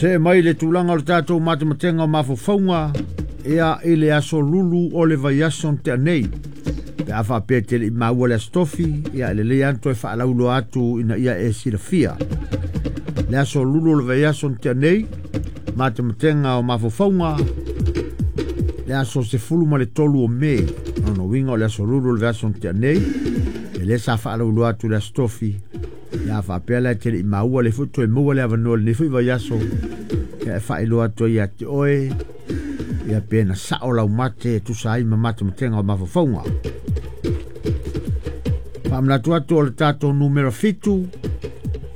See mai le tulaga o le tatou matematega o mafaufauga ia i le aso lulu o le vaiaso na tea nei. Pe a faapea e te le i maua le Aso Tofi, ia e lelei lava ona toe faalauiloa atu ina ia e silafia. Le aso lulu o le vaiaso na tea nei, matematega o mafaufauga, le aso 13 o Me. O lona uiga o le aso lulu o le vaiaso na tea nei, e lea sa faalauiloa atu le Aso Tofi, ia a faapea la e te le i maua le foi toe maua le avanoa i lenei foi vaiaso, ia e faailoa atu ai ia te oe, ia pe na sao lau mate e tusa ai ma matematega o mafaufauga. Faamanatu atu o le tatou numera 7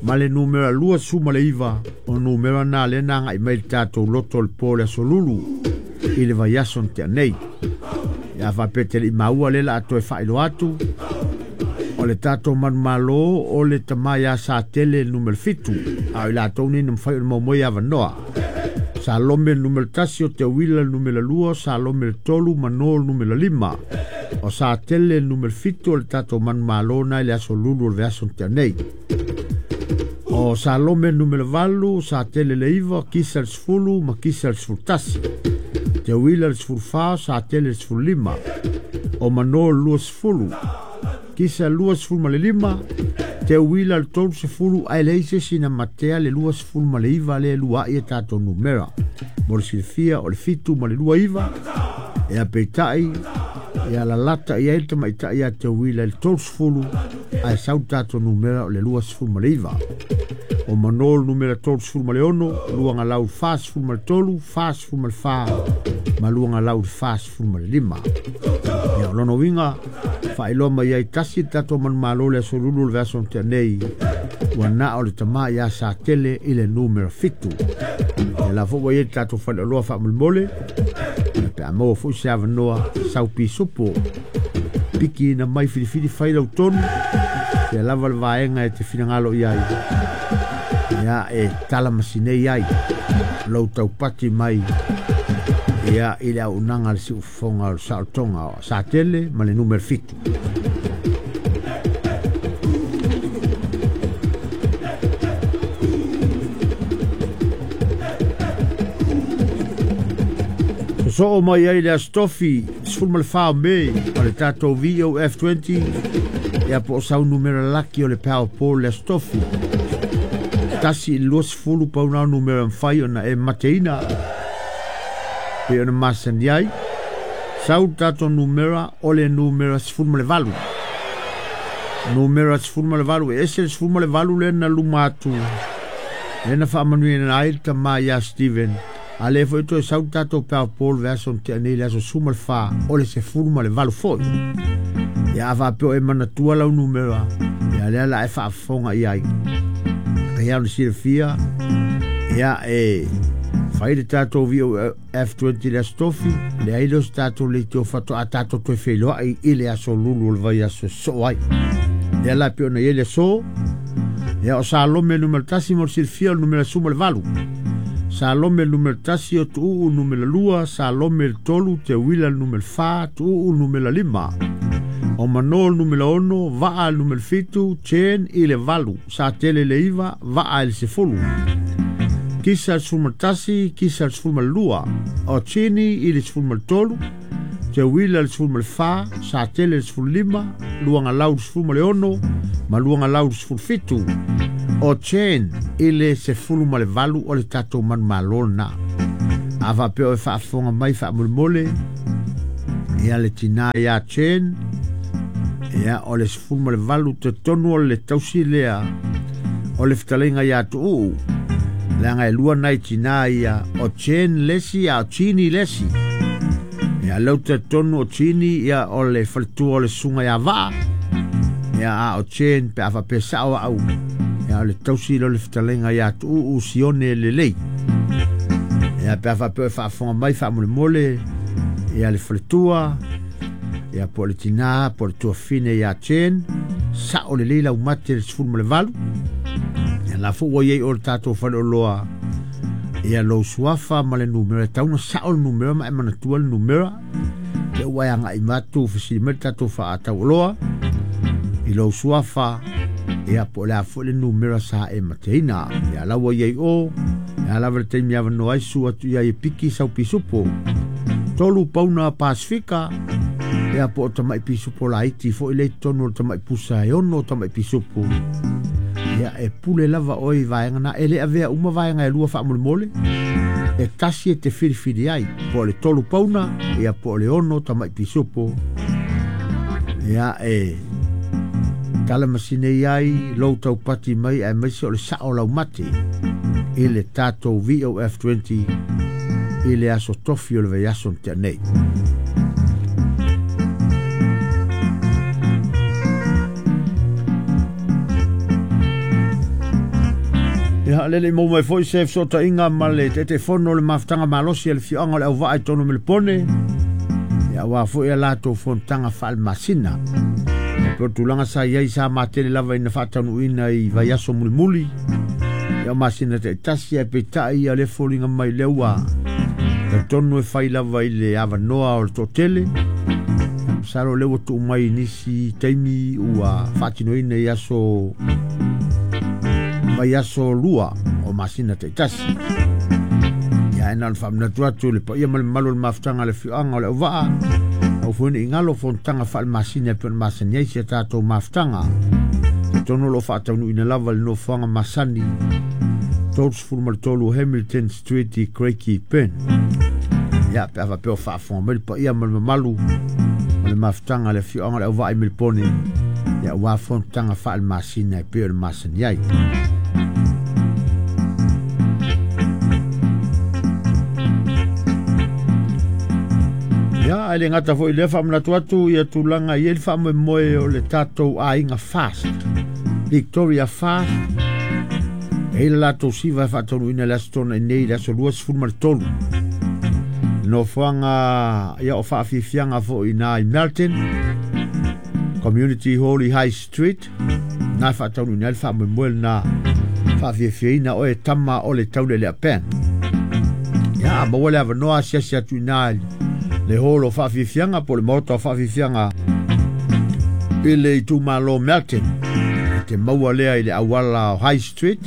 ma le numera 29 o numera na lea na agai mai le tatou loto o le po o le aso lulu i le vaiaso na tea nei. Ia faapea te le i maua lea la a toe faailoa atu o le tatou manumalo o le tama ia Satele le numera 7, a o i latou nei na mafai ona maua mai avanoa. Salome le numera 1, o Teuila le numera 2, Salome le 3, Mano le numera 5. O Satele le numera 7 o le tatou manumalo na i le aso lulu o le vaiaso na tea nei. O Salome le numera 8, Satele le 9, Kisa le 10 ma Kisa le 11. Teuila le 14, Satele le 15. O Mano le 20, Kisa le 25, Teuila le 30, ae leai se isi na matea le 29 lea e lua ai e tatou numera. Mo le silafia o le 7 ma le 29, ea peitai, ia lalata i ai le tamaitai ia Teuila i le 30, ae sau le tatou numera o le 29. O Mano le numera 36, luaga lau 43, 44 ma luaga lau 45. Ia o lona uiga, faailoa mai ai tasi le tatou manumalo le aso lulu o le vaiaso na tea nei, ua na o le tama ia Satele i le numera 7. Ia la foi ua i ai le tatou faleoloa faamolemole, ia pe a maua foi se avanoa sau pisupo. Piki na mai filifili fai lau tonu, sea lava le vaega e te finagalo i ai, ia e tala masinei ai lou taupati mai ia i le auaunaga a le siufofoga o le saolotoga o Satele ma le numera 7. Sosoo mai ai le Aso Tofi 14 o Me o le tatou VOF20, ia po o sau numera laki o le Powerball le Aso Tofi. 1 i le 20 pau na o numera mafai ona e mateina pe ona masani ai. Sau le tatou numera o le numera 18. Numera 18, e ese le 18 lea na luma atu, lea na faamanuiaina ai le tama ia Steven. A lea foi toe sau le tatou Powerball vaiaso na tea nei le aso 14 o le 18 foi. Ia a faapea o e manatua lau numera, ia lea la e faafofoga i ai. Pei ona silafia, ia e fai le tatou VOF20 le Aso Tofi, leai lea o se tatou leitio faatoa tatou toe feiloai i le aso lulu o le vaiaso e sosoo ai. Lea la pei ona i ai le aso, ia o Salome numera 1 mo le silafia o le numera 18. Salome numera 1 o Tuuu numera 2, Salome le 3, Teuila le numera 4, Tuuu numera 5. O Mano le numera 6, Vaa le numera 7, Chen i le 8, Satele le 9, Vaa i le 10. Kisa le 11, Kisa le 12, o Chini i le 13, Teuila le 14, Satele le 15, luaga lau le 16 ma luaga lau le 17. O Chen i le 18 o le tatou manumalo lena. A faapea o e faafofoga mai faamolemole, ia le tina ia Chen, ia o le 18 te tonu o le tausi lea o le fetalaiga ia Tuuu. Leaga e lua nai tina ia, o Chen lesi a o Chini lesi. Ia lau te tonu o Chini ia o le faletua o le susuga ia Vaa, ia a o Chen pe a faapea sao au, ia o le tausi lea o le fetalaiga ia Tuuu Sione lelei. Ia pe a faapea o e faafofoga mai faamolemole, ia le faletua, ia po o le tina, po o le tuafine ia Chen, sao lelei lau mate le 18. Ia la foi ua i ai o le tatou faleoloa, ia lou suafa ma le numera, e tau na sao le numera ma e manatua le numera. Lea ua e agai atu fesili mai le tatou faatauoloa i lou suafa, ia po o le a foi le numera sa e mateina. Ia la ua i ai o, Ia lava le taimi avanoa ai susu atu i ai e piki sau pisupo. 3 pauna Pasifika, ia po o tamai pisupo laiti foi le totonu o le tamai pusa e 6 tamai pisupo. Ia e pule lava oe i vaega na, e le avea uma vaega e 2 faamolemole, e tasi e te filifili ai, po o le 3 pauna, ia po o le 6 tamai pisupo. Ia e tala masine ai lou taupati mai aemaise o le sao laumate i le tatou VOF20 i le aso tofi o le vaiaso na tea nei. Ia le lei mau mai foi se fesootaiga ma le Taitaifono o le Mafutaga Malosi a le Afioaga o le Auvaa i totonu o Melepone, ia aua foi a latou fonotaga faalemasina. Ia po o tulaga sa i ai sa matele lava ina faataunuuina i vaiaso mulimuli, ia o masina taitasi ae peitai ia le foliga mai lea ua talitonu e fai lava i le avanoa o le toatele. Masalo lea ua tuu mai i nisi taimi ua faatinoina i aso vaiaso 2 o masina taitasi. Ia e na ona faamanatu atu le paia ma le mamalu o le mafutaga a le afioaga o le Auvaa, au foi ni galo fonotaga faalemasina e pei ona masani ai si a tatou mafutaga. Talitonu o lo o faataunuuina lava le nofoaga masani 33 Hamilton Street i Craigieburn. Ia pe a faapea o faafofoga mai le paia ma le mamalu o le mafutaga a le afioaga o le Auvaa i Melepone, ia aua fonotaga faalemasina e pei ona masani ai. Ia, ae le gata foi lea faamanatu atu ia tulaga i ai le faamoemoe o le tatou aiga Fast, Victoria Fast, e i le latou siva e faataunuuina le aso Toonai nei, le aso 23. Nofoaga ia o faafiafiaga foi i na i Melton, Community Hall i High Street, na faataunuuina ai le faamoemoe lena faafiafiaina oe tama o le taulelea pen. Ia, maua le avanoa asiasi atu i na le hall o faafiafiaga po o le maota o faafiafiaga i le itumalo Melton. E te maua lea i le auala o High Street,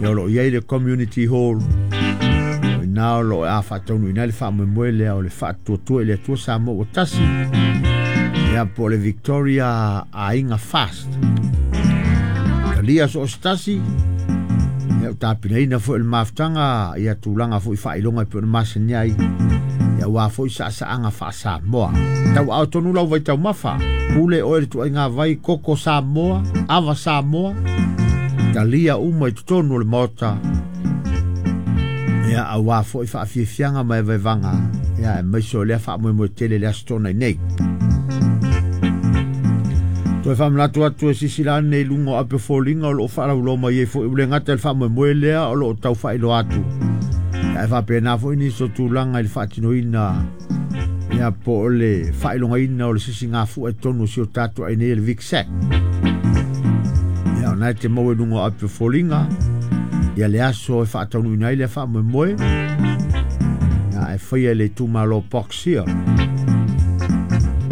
ia o lo o i ai le Community Hall. O ina o lo o a faataunuuina ai le faamoemoe lea o le faatuatua i le Atua Samoa ua tasi, ia po o le Victoria Aiga Fast. Talia so o se tasi, ia o tapinaina foi o le mafutaga, ia tulaga foi faailoga e pei ona masani ai, ia aua foi saasaaga faa-Samoa. Tau ao tonu lau vai taumafa, pule oe le tuaiga vai koko Samoa, ava Samoa, talia uma i totonu o le maota, ia aua foi faafiafiaga ma evaevaga, ia aemaise o lea faamoemoe tele le aso Toonai nei. Toe faamanatu atu e sisila ane i luga o ape foliga o lo o faalauloa mai ai foi ua le gata i le faamoemoe lea o lo o tau faailoa atu. Ia e faapena foi nisi o tulaga i le faatinoina, ia po o le faailogaina o le sisigafua i totonu o si o tatou ai nei e le VICSEC. Ia o na e te maua i luga o ape foliga, ia le aso e faataunuuina ai lea faamoemoe, ia e faia i le itumalo Box Hill.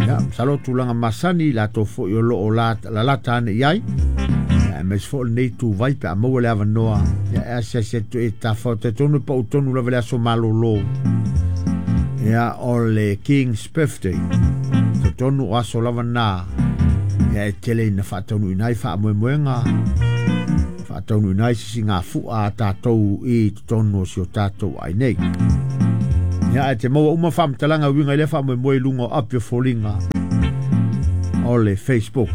Ia, masalo tulaga masani latou foi o lo o lalata ane i ai, ia aemaise foi o lenei tuvai pe a maua le avanoa, ia e asiasi atu e tafao talitonu e pau tonu lava le aso malolo, ia o le King's Birthday. Talitonu o aso lava na, ia e tele ina faataunuuina ai faamoemoega, faataunuuina ai sisigafua a tatou i totonu o si o tatou ai nei. Ia ae te maua uma faamatalaga uiga i lea faamoemoe i luga o api o foliga o le Facebook.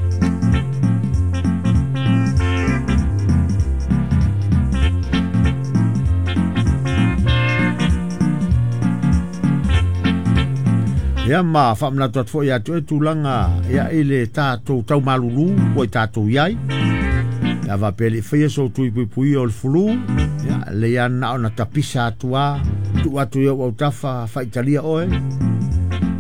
Ia ma faamanatu atu foi ia te oe tulaga ia i le tatou taumalulu ua i tatou i ai. Ia faapea le i faia sou tui puipuia o le fulu, ia lei lava na ona tapisa atu a, tuu atu i ou autafa faitalia oe.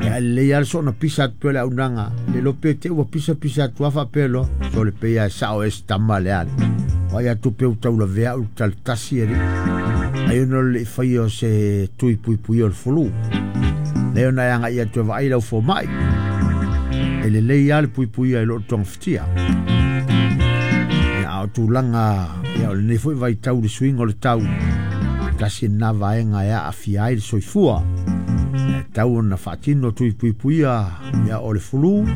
Ia lelei lava le soona pisa atu pea o le aunaga, le iloa pe te ua pisa pisa atu a faapea loa, sole pei lava e sao e se tama le ale. O ai atu pe ua taulavea au i le talatasi alii. Ai ona o le i faia o se tui puipuia o le fulu. Lea ona e agai atu e vaai lau fomai. E lelei lava le puipuia i loo togafitia. Ia a o tulaga ia o lenei foi vaitau i le suiga o le tau, Tasi lena vaega e aafia ai le soifua. E tatau ona faatino tui puipuia ia o le fulu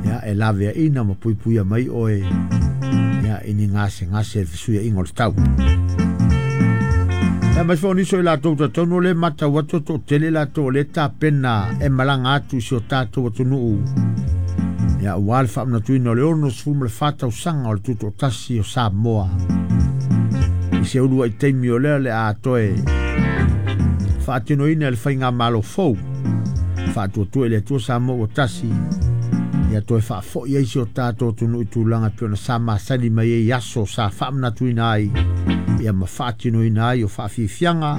ia e laveaina ma puipuia mai oe ia i ni gasegase i le fesuiaiga o le tau. Ia aemaise foi o nisi o i latou talitonu o lea e matau atu e toatele i latou o lea e tapena e malaga atu i si o tatou atunuu ia aua le faamanatuina o le 64 tausaga o le Tutoatasi o Samoa. I se uluai taimi o lea o le a toe faatinoina e le faigamalo fou faatuatua i le Atua Samoa ua tasi ia toe faafoi ai si o tatou atunuu i tulaga e pei ona sa masani mai ai i aso sa faamanatuina ai ia ma faatinoina ai o faafiafiaga,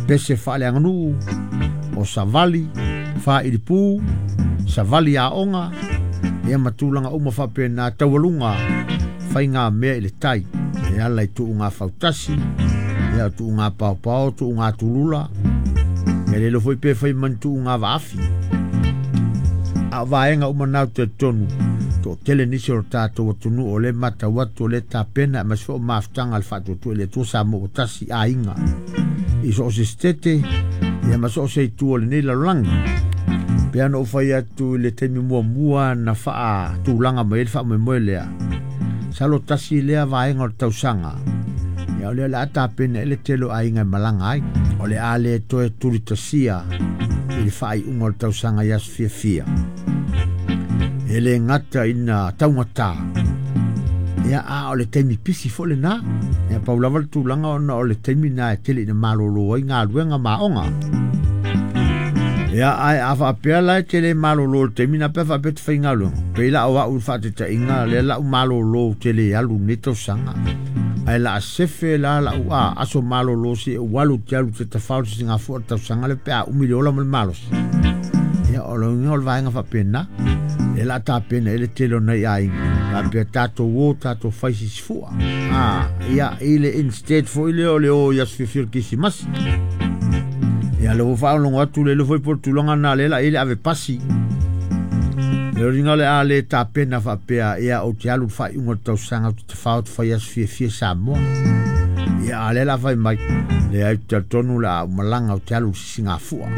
pese faaleaganuu, o savali, faailipu, savali aoga, ia ma tulaga uma faapena taualuga faigamea i le tai e ala i tuuga fautasi, ia o tuuga paopao, tuuga tulula, ia le iloa foi pe fai ma ni tuuga vaafi. A o vaega uma na ou te talitonu, toatele nisi o le tatou atunuu o lea e matau atu o lea e tapena aemaise foi o mafutaga a le Faatuatua i le Atua Samoa ua tasi aiga i so o se setete ia ma so o se itu o lenei lalolagi. Pei ona ou fai atu i le taimi muamua na faatulaga mai ai le faamoemoe lea, masalo tasi lea vaega o le tausaga ia o lea o le a tapena ai le tele o aiga e malaga ai. O le a le toe tulitasia i le faaiuga o le tausaga i aso fiafia. E le gata ina taugata, ia a o le taimi pisi foi lena. Ia pau lava le tulaga ona o le taimi na e tele ina malolo ai galuega ma aoga. Ia ae a faapea la e te le malolo i le taimi na pe a faapea e te faigaluega, pei la o au i le faataitaiga lea la u malolo ou te le alu i lenei tausaga. Ae la a sefe la lau a aso malolo se ou alu te alu te tafao le sisigafua o le tausaga lea pe a umi le ola ma le malosi. Ia o le uiga o le vaega faapena, lea la a tapena ai le tele o nai aiga, faapea tatou o tatou fai sisifua. A, ia i le instead foi lea o le o i aso fiafia o le Kerisimasi. Ia lea ua faalogologo atu le iloa foi po o le tulaga lena lea la i ai le ave pasi. Le uiga o le a le tapena faapea ia ou te alu i le faaiuga o le tausaga ou te tafao ou te fai aso fiafia i Samoa. Ia a o lea la a fai mai, leai ou te talitonu o le a ou malaga ou te alu i le sisigafua.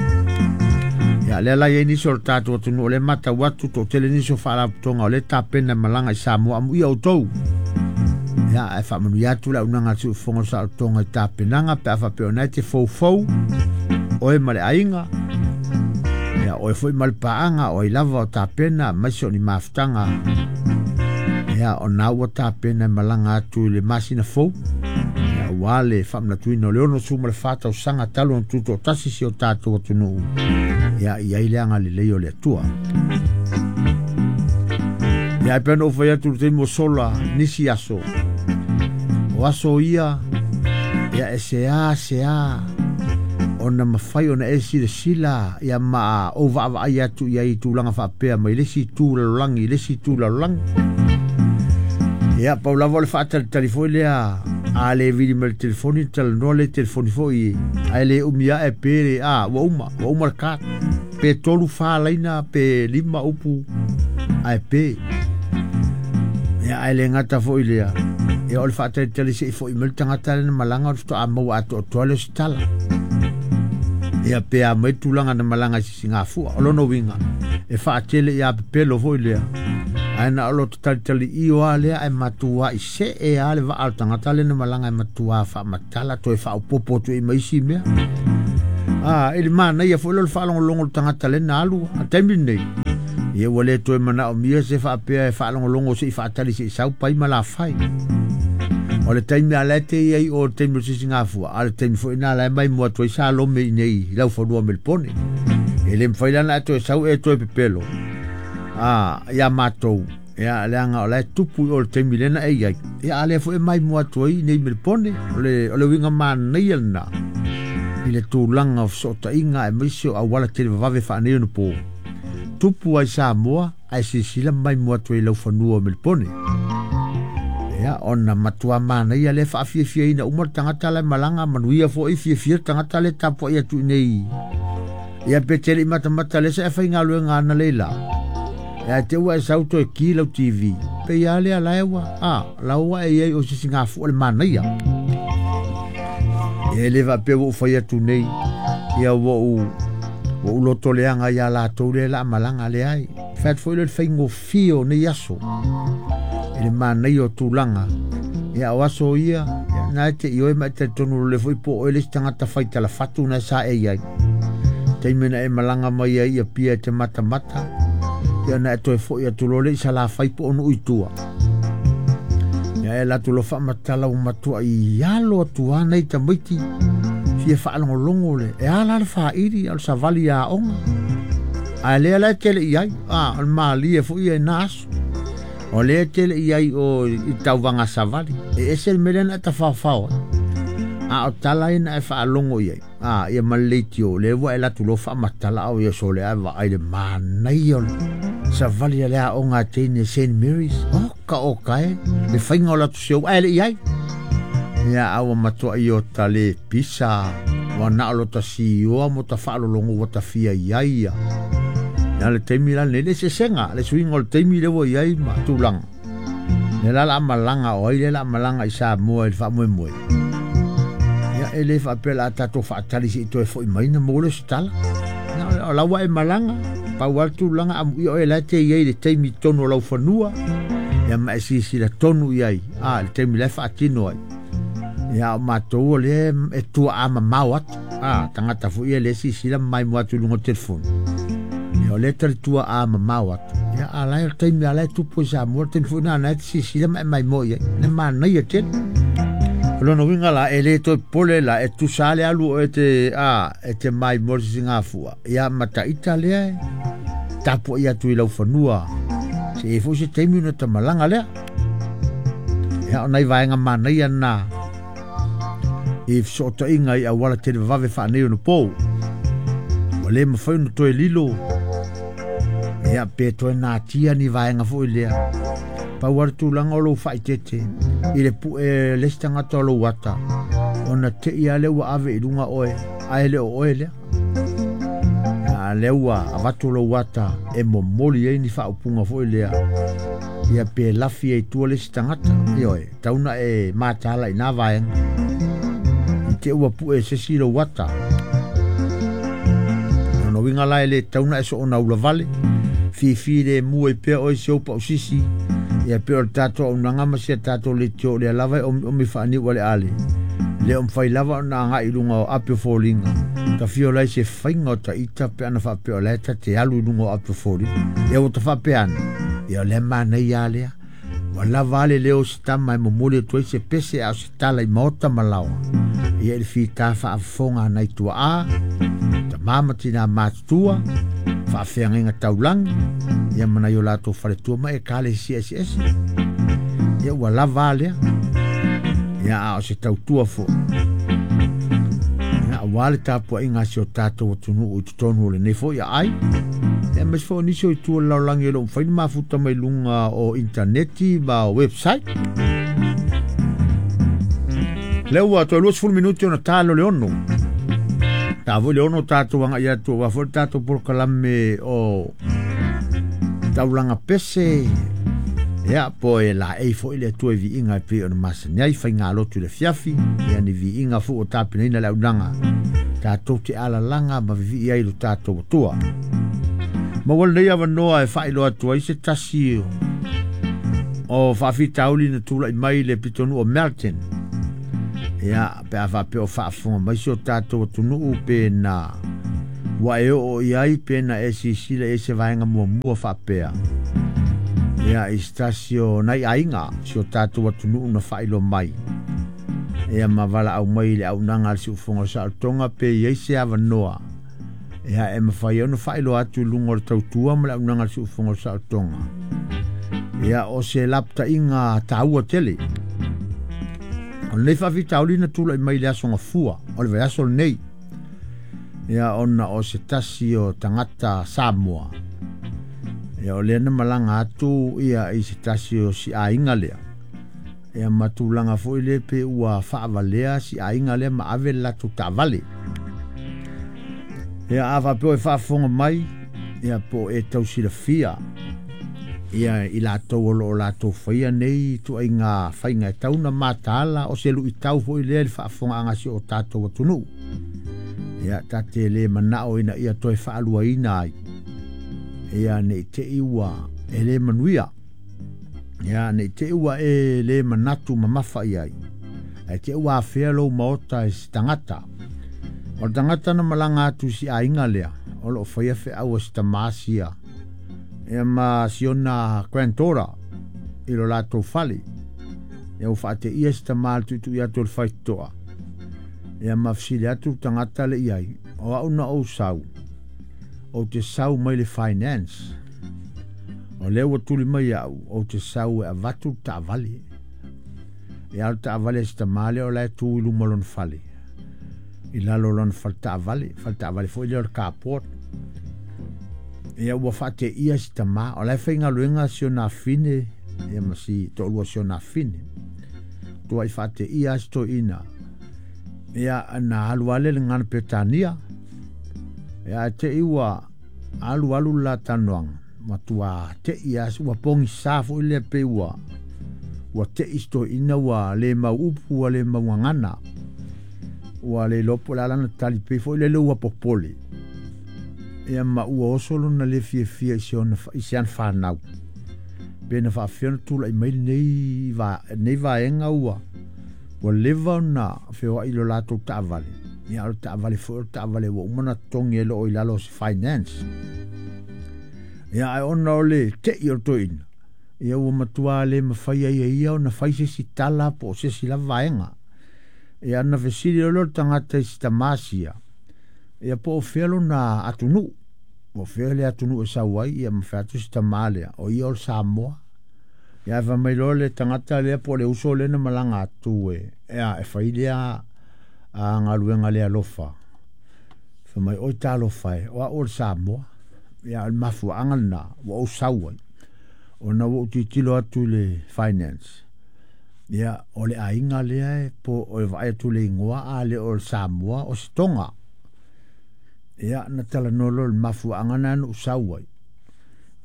Ia lea la e i ai nisi o le tatou atunuu o lea e matau atu toatele nisi o faalapotopotoga o lea e tapena e malaga i Samoa amuia outou. Ia ae faamanuia atu le auaunaga a le Siufofoga o le Saolotoga i tapenaga pe a faapea o lena e te foufou oe ma le aiga. Ia oe foi ma le paaga o ai lava o tapena aemaise o ni mafutaga. Ia o na ua tapena e malaga atu i le masina fou. Ia aua le faamanatuina o le 64 tausaga talu ona tutoatasi si o tatou atunuu. Ia i ai le agalelei o le Atua. Ia e pei ona ou fai atu i le taimi ua sola nisi aso. O aso ia, ia e sea sea ona mafai ona e silasila ia ma ou vaavaai atu i ai i tulaga faapea mai le isi itu lalolagi i le isi itu lalolagi. Ia, pau lava o le faatalitali foi lea, a le vili mai le telefoni, talanoa le telefoni foi, ae le umi ae pe le, a, ua uma, ua uma le card. Pe 3, 4 laina, pe 5 upu, ae pe. Ia, ae le gata foi lea, ia o le faatalitali se i foi mai le tagata lea na malaga o le faatoa maua atoatoa lea o se tala. Ia pe a mai tulaga na malaga i sisigafua. O lona uiga, e faatele ia pepelo foi lea. Ae na o lo talitali io lava lea ae matuai see lava le vaa o le tagata lea na malaga e matua faamatala toe faaopoopo atu i ma isi mea. A, i le manaia foi lea o le faalogologo o le tagata lea na alu a le taimi lenei. Ia ua le toe manaomia se faapea e faalogologo se i faatali se i sau pai ma lafai. O le taimi a la e te i ai o le taimi o le sisigafua, a o le taimi foi lena la e maimoa atu ai Salome i nei i laufanua o Melipone. E le mafai la ona e toe sau e toe pepelo a ia matou, ia leaga o la e tupu i o le taimi lea na e i ai. Ia a lea foi e maimoa atu ai i nei Melipone. O le uiga manaia lena i le tulaga o fesootaiga aemaise o auala televavave faaneionapo. Tupu ai Samoa ae silasila maimoa atu ai i laufanua o Melipone. Ia, ona matua manaia lea faafiafiaina uma le tagata la e malaga, manuia foi fiafia le tagata lea e tapuai atu i nei. Ia pe te le i matamata lea sa e faigaluega ana lei la. Ia te ua e sau toe ki lau TV. Pe ia lea la e ua, a, la ua e iai o sisigafua le manaia. Ia e le faapea ua ou fai atu nei, ia ua ou lotoleaga ia latou lea la malaga leai. Fai atu foi lea o le faigofie o nei aso i le manaia o tulaga. Ia o aso ia, ia na e te ioe ma e talitonu lole foi po o oe le isi tagata fai talafatu na sa e i ai. Taimi na e malaga mai ai ia pia e te matamata, ia na e toe foi atu loa lea i Salafai po o Nuu i tua. Ia e latou loa faamatala ua matua i alo atu lava nai tamaiti fia faalogologo le e ala le faili o le savali aoga. Ae lea la e tele i ai, o le malie foi ia i na aso. O lea e tele i ai o i tauvaga savali. E ese le mea lea na e tafaofao ai. A o tala ia na e faalogo i ai. Ia ma le leitio, lea ua e alu atu loa faamatala au ia sole ae vaai le manaia o le savali a le aoga a teine St. Mary's. O ka o kae, le faiga o latou seu ae le i ai. Ia a ua matua i o ta le pisa, ua na o lo ta sioa mo ta faalologo ua ta fia i ai ia. Ia le taimi la nei le sesega, le suiga o le taimi lea ua i ai ma tulaga. Le la la malaga o ai le la malaga i Samoa i le faamoemoe. Ia e le faapea la tatou faatali se i toe foi mai na maua lea o se tala. Ia o la ua e malaga, pau lava le tulaga amuia oe la e te i ai i le taimi i totonu o lau fanua. Ia ma e silasila tonu i ai, le taimi la e faatino ai. Ia o matou o lea e tuaa mamao atu. Tagata foi ia lea e silasila ma maimoa atu i luga o le telefoni. Ia o lea e talitua mamao atu. Ia a la e o le taimi a la e tupu i Samoa, le taimi foi lena e te silasila ma e maimoa i ai. Le manaia tele. O lona uiga la, e le toe popole la, e tusa le alu o e te, e te maimoa le sisigafua. Ia ma taita lea e tapuai atu i lau fanua. Se i foi se taimi ona ta malaga lea. Ia o nai vaega manaia na i fesootaiga i auala televavave faaneionapo. Ua le mafai ona toe lilo. Ia pe toe natia ni vaega foi lea. Pau lava le tulaga o lou faaeteete i le pue le isi tagata o lou ata, ona te i lava lea ua ave i luga oe, ae le o oe lea. A lea ua avatu lou ata e momoli ai ni faaupuga foi lea. Ia pe lafi ai tua le isi tagata. Ioe, tau na e mataala i nā vaega. I te ua pue se isi lou ata. Lona uiga la e le tau na e soona ulavale. Fifi le mua i pea oe se upa o sisi. Ia pe o le tatou auaunaga ma si a tatou leitio o lea lava e omiomi faaniu aleale. Le o mafai lava ona agai i luga o api o foliga. Ta fia ola ai se faiga o taita pe ana faapea o la e ta te alu i luga o api o foliga. Ia ua ta faapea ane, ia o lea manaia lava lea. Ua lava a le leo o se tama e momoli atu ai se pese a o se tala i maota ma laoa. Ia i le fita faafofoga a nai tuaa, tama ma tina matutua, faafeagaiga taulagi, ia ma nai o latou faletua ma ekalesia eseese. Ia ua lava a lea. Ia a o se tautua foi. Ia aua le tapuaiga a si o tatou atunuu i totonu o lenei foi aai. Ia aemaise foi o nisi o itu o le lalolagi e le o mafai ona mafuta mai luga o intaneti ma o website. Lea ua toe 20 minuti ona ta lea o le 6. Ta foi le 6 tatou agai atu aua foi le tatou polokalame o taulaga pese. Ia po e laei foi le Atua i viiga e pei ona masani ai faigalotu i le afiafi. Ia ni viiga foi ua tapenaina le auaunaga tatou te alalaga ma vivii ai lo tatou Atua. Maua lenei avanoa e faailoa atu ai se tasi o faafitauli na tulai mai i le pitonuu o Melton. Ia pe a faapea o faafofoga mai si o tatou atunuu pe na ua e oo i ai pe na e silasila i ai se vaega muamua faapea. Ia i se tasi o nai aiga si o tatou atunuu na faailoa mai. Ia ma valaau mai i le auaunaga a le Siufofoga o Saolotoga pe i ai se avanoa. Ia e mafai ai ona faailoa atu i luga o le tautua ma le auaunaga a le Siufofoga o Saolotoga. Ia o se lapataiga taua tele. O lenei faafitauli na tulai mai i le aso Gafua o le vaiaso lenei. Ia ona o se tasi o tagata Samoa. Ia o lea na malaga atu ia i se tasi o si aiga lea. Ia ma tulaga foi lea pe ua faavalea si aiga lea ma ave le latou taavale. Ia a faapea o e faafofoga mai, ia po o e tau silafia Ia i latou o lo o latou faia nei ituaiga faiga e tau na mataala o se luitau foi lea i le faafofogaaga a si o tatou atunuu. Ia ta te le manao ina ia toe faaluaina ai. Ia ne i te i ua e le manuia. Ia ne i te i ua e le manatu mamafa i ai. Ae te i ua afea lou maota e se tagata. O le tagata na malaga atu i si aiga lea, o lo o faia feau a si tamā sia ia ma si ona granddaughter i lo latou fale. Ia ua faateia si tamā le tuitui atu o le faitotoa. Ia ma fesili atu le tagata le i ai, o au na ou sau, ou te sau mai le finance. O lea ua tuli mai au, ou te sau e avatu le taavale. Ia o le taavale a si tamā lea o la e tu i luma o lona fale. I lalo o lona fale taavale, fale taavale foi lea o le carport. Ia ua faateia si tamā, o la e faigaluega si ona afine, ia ma si toalua o si ona afine. Tuai faateia si toeaina. Ia na alu lava lea i le gagana Peretania. Ia ae te i ua alu alu le la talanoaga, matua tei lava, ua pogisa foi lea pei ua ua tei si toeaina ua le mau upu ua le mau gagana. Ua le iloa po o le a lana tali pei foi lele ua popole. Ia ma ua oso lona le fiafia i si ona i si ana fanau. Pe na faafefea ona tulai mai lenei va, lenei vaega ua ua leva ona feoai i lo latou taavale. Ia o le taavale foi o le taavale ua uma ona totogi e lo o i lalo o se finance. Ia ae ona o le tei o le toeaina, ia ua matua le mafai ai e ia ona fai se isi tala po o se isi lava vaega. Ia na fesili loa lea o le tagata i si tamā sia, ia po o fea lona atunuu, po o fea le atunuu e sau ai, ia ma fai atu si tamā lea, o ia o le Samoa. Ia ae fai mai loa le tagata lea po o le uso lea na malaga atu e, ea, e fai lea a galuega le alofa. Fai mai, oi talofa e, o au o le Samoa. Ia o le mafuaaga lena ua ou sau ai, ona ua ou tilotilo atu i le finance. Ia, o le aiga lea e po o e vaai atu i le igoa a le o le Samoa o se Toga. Ia, na talanoa loa i le mafuaaga lena na ou sau ai.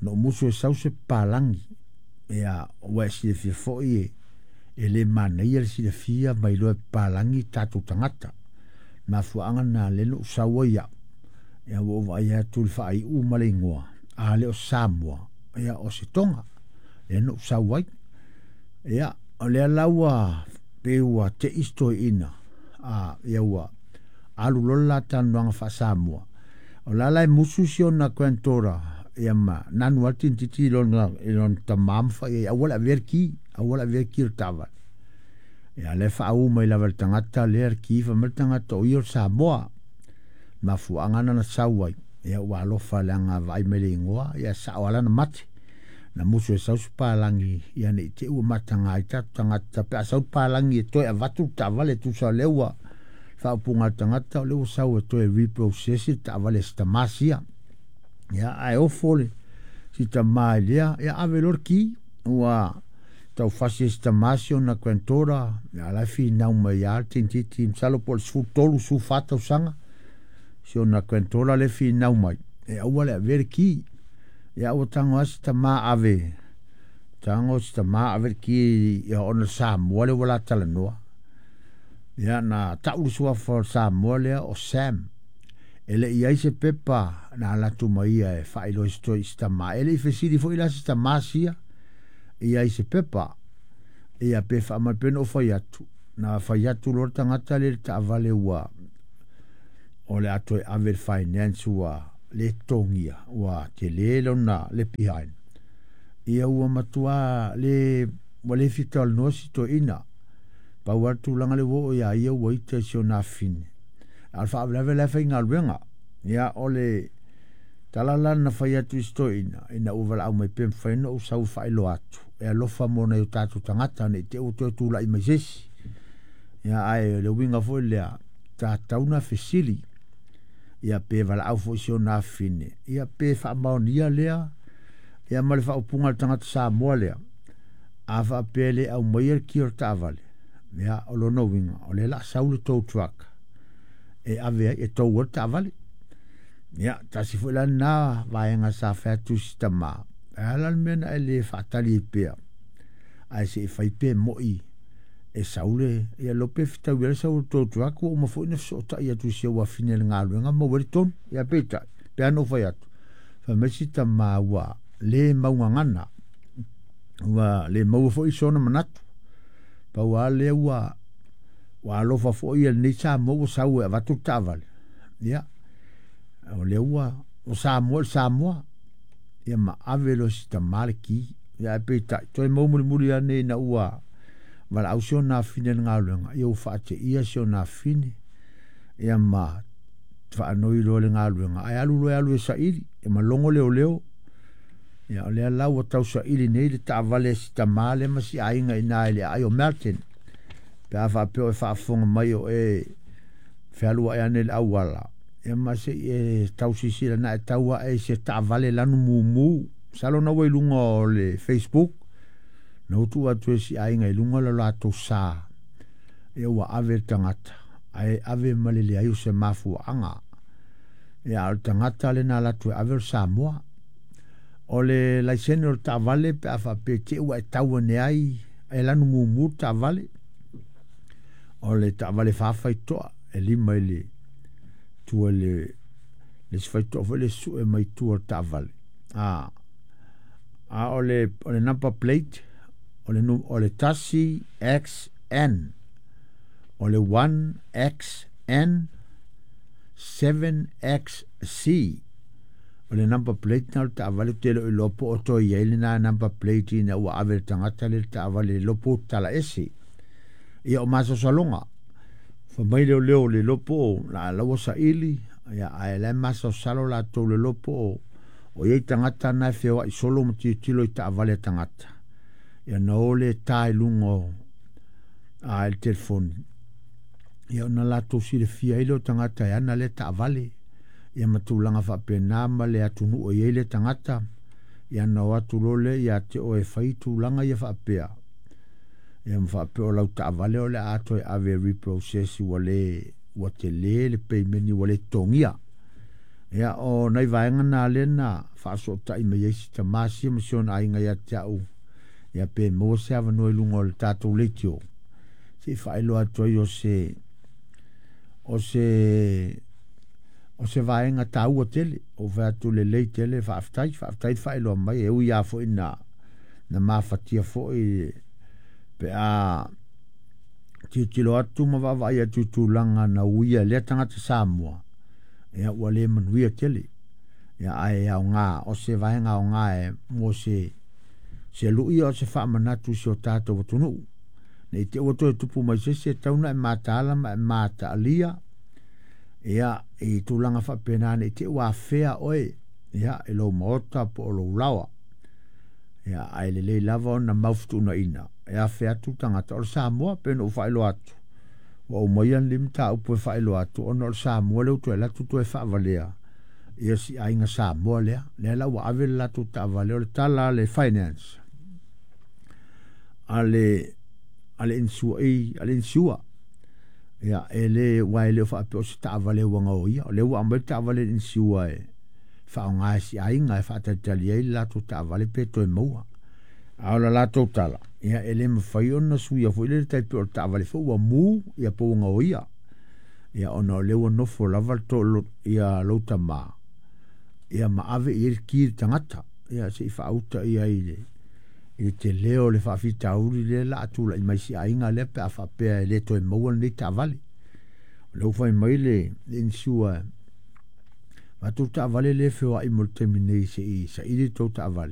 Na ou musu e sau se papalagi. Ia, ua e silafia foi e, e le manaia le silafia ma iloa e papalagi tatou tagata. Mafuaaga lena lea na ou sau ai au. Ia, ua ou vaai atu i le faaiu ma le igoa, a le o Samoa, ia o se Toga. Lea na ou sau ai. Ia, o lea la ua pei ua tei si toeaina, a, ia ua alu loa le la talanoaga faa-Samoa. O la la e musu si ona granddaughter, ia ma nanu lava le teinititi i lona, i lona tamā ma fai i ai, aua le avea le ki, aua le avea le ki o le taavale. Ia, lea e faauu mai lava e le tagata lea le ki, fai mai le tagata o ia o le Samoa. Mafuaaga na na sau ai, ia ua alofa leaga vaai mai le igoa, ia sao lava lana mate. Na musu e sau se palagi, ia ne i te i ua mataga ai tatou tagata pe a sau le palagi e toe avatu le taavale tusa o lea ua faaupuga a le tagata o lea ua sau e toe reprocess le taavale a si tamā sia. Ia ae ofo le si tamā i lea, ia ave loa le ki, ua taufasi e si tamā si ona granddaughter, ia la e finau mai lava le teinititi, masalo po o le 13, 14 tausaga, si ona granddaughter lea e finau mai, e aua le avea le ki. Ia ua tago lava si tamā ave, tago si tamā ave le ki ia ona Samoa lea ua la talanoa. Ia na tau le suafa o le Samoa lea o Sam. E le i ai se pepa na alu atu ma ia e faailoa i si toe i si tamā. E le i fesili foi la si tamā sia ia i se pepa. Ia pe faamai pea ona ou fai atu, na fai atu loa le tagata lea i le taavale ua o le a toe ave i le finance ua le totogia, ua tele lona le behind. Ia ua matua le ua le fia talanoa si toeaina. Pau lava le tulaga lea ua oo ia ia ua ita i si ona afine. A o le faalavelave la e faigaluega. Ia o le tala la na fai atu i si toeaina, ina ua valaau mai pe mafai ona ou sau e faailoa atu, e alofa mo nai o tatou tagata ne i te i ua toe tulai mai se isi. Ia ae o le uiga foi lea, tatau ona fesili, ia pe valaau foi i si ona afine, ia pe faamaonia lea, ia ma le faaupuga a le tagata Samoa lea, a faapea e le aumaia le ki o le taavale, ia o lona uiga, o lea o le a sau le tow truck e ave ai, e tou ai le taavale. Ia, tasi foi la lena vaega sa fai atu i si tamā, E a la le mea na e le faatali ai pea ae se i fai pe moi e sau le ia lo pe fetaui ai le sau o le tou truck ua uma foi ona fesootai atu i si ou afine i le galuega maua ai le tonu. Ia peitai, pe a na ou fai atu, fai mai si tama ua le maugagana, ua le maua foi sona manatu. Pau lava lea ua ua alofa foi ia lenei Samoa ua sau e avatu le taavale, ia, o lea ua o Samoa i le Samoa, ia ma ave loa e si tama le ki. Ia ae peitai, toe maua mulimuli ane ina ua valaau si ona afine i le galuega, ia ua faateia si ona afine, ia ma faanoi loa le galuega, ae alu loa e alu e saili, ia ma logo leoleo. Ia o lea la ua tausaili nei le taavale a si tama lea ma si aiga i ina i le aai o Melton. Pe a faapea o e faafofoga mai o e fealuai ane i le auala, ia ma se i e tau silasila na e tau ae i se taavale lanu mumu. Masalo na ua i luga o le Facebook, na ua tuu atu e si aiga i luga le latou sa, ia ua ave le tagata, ae ave ma le leai o se mafuaaga. Ia a o le tagata lena alu atu e ave o le Samoa. O le laisene o le taavale pe a faapea te i ua e tau ane ai e lanu mumu le taavale, o le taavale fa faitotoa e lima i le tua i le isi faitotoa foi lea e sue mai tua o le taavale. A, a o le, o le number plate, o le, o le 1XN, o le 1XN 7XC, o le number plate na o le taavale ou te le o iloa po o toe i ai lena number plate ina ua ave le tagata lea le taavale le iloa po ua tatala ese. Ia o masalosaloga, fai mai leoleo le iloa po o la ua saili, ia ae la e masalosalo latou le iloa po o o i ai tagata na e feoai solo ma tilotilo i taavale a tagata. Ia na o lea ta i luga o a i le telefoni ia ona latou silafia ai lea o tagata e ana lea taavale ia ma tulaga faapena ma le atunuu e i ai lea tagata ia ona o atu loa lea ia te oe e fai tulaga ia faapea ia ma faapea o lau taavale o le a toe ave e reprocess ua le ua tele le payment ua le totogia. Ia o nai vaega na lea na faasootai mai ai si tama sia ma si ona aiga ia te au ia pe maua se avanoa i luga o le tatou leitio se i faailoa atu ai o se o se o se vaega taua tele. Ua ou fai atu lelei tele, faafetai, faafetai le faailoa mai, e ui lava foi na na mafatia foi pe a tilotilo atu ma vaavaai atu i tulaga na uia e lea tagata Samoa, ia ua le manuia tele. Ia ae aoga, o se vaega aoga e mo se se lui o se faamanatu i si o tatou atunuu. Ne i te i ua toe tupu mai se isi e tatau ona e mataala ma e mataalia ia i tulaga faapena ne i te i ua afea oe ia i lou maota po o lou laoa. Ia ae lelei lava ona mau fetuunaiga e afe atu le tagata o le Samoa pei ona ou faailoa atu. Ua aumaia lenei mataupu e faailoa atu ona o le Samoa lea ua toe alu atu toe faavalea ia si aiga Samoa lea. Lea la ua ave le latou taavale o le tala a le finance a le a le insure a le insure ia e le aua e le o faapea o se taavale ua gaoia o lea ua aumai le taavale i le insure e faaaoga e si aiga e faatalitali ai le latou taavale pe toe maua. A o le latou tala, ia e le mafai ona suia foi lele tai pei o le taavale foi ua mu ia po ua gaoia. Ia ona o lea ua nofo lava le to, ia lou tama ia ma ave i ai le ki i le tagata. Ia se i faauta ia i le i le tele o le faafitauli lea la a tulai mai si aiga lea pe a faapea e le toe maua lenei taavale. O lea ua fai mai le, le insure avatu le taavale lea e feoai mo le taimi nei se i saili le tou taavale.